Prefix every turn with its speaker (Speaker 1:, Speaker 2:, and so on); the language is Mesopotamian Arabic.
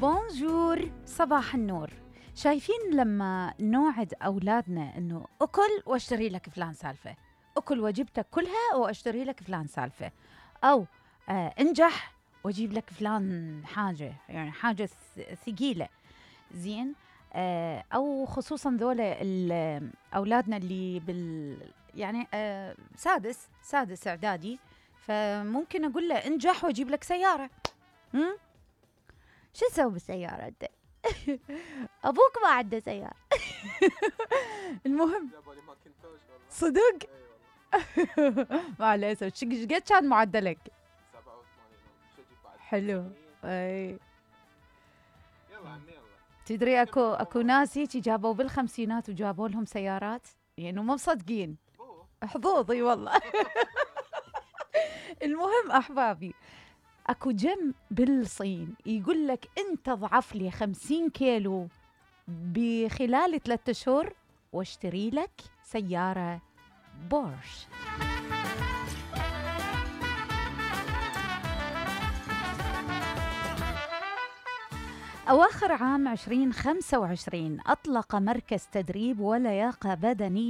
Speaker 1: بونجور، صباح النور. شايفين لما نوعد أولادنا إنه أكل واشتري لك فلان سالفة، أكل وجبتك كلها واشتري لك فلان سالفة، أو انجح واجيب لك فلان حاجة، يعني حاجة ثقيلة، زين. أو خصوصا ذولا أولادنا اللي يعني سادس إعدادي، فممكن أقول له انجح واجيب لك سيارة. شو تسوي بالسيارة أنت؟ أبوك ما عنده سيارة. المهم صدق؟ معليش، قد كان معدلك؟
Speaker 2: 87.
Speaker 1: حلو. اي
Speaker 2: يلا عمي يلا.
Speaker 1: تدري اكو ناس هيك جابوا بالخمسينات وجابوا لهم سيارات، يعني مو مصدقين. حظوظ. اي والله. المهم احبابي، اكو جم بالصين يقول لك انت ضعف لي 50 كيلو بخلال 3 أشهر واشتري لك سيارة بورش. أواخر عام 2025 أطلق مركز تدريب ولياقة بدنية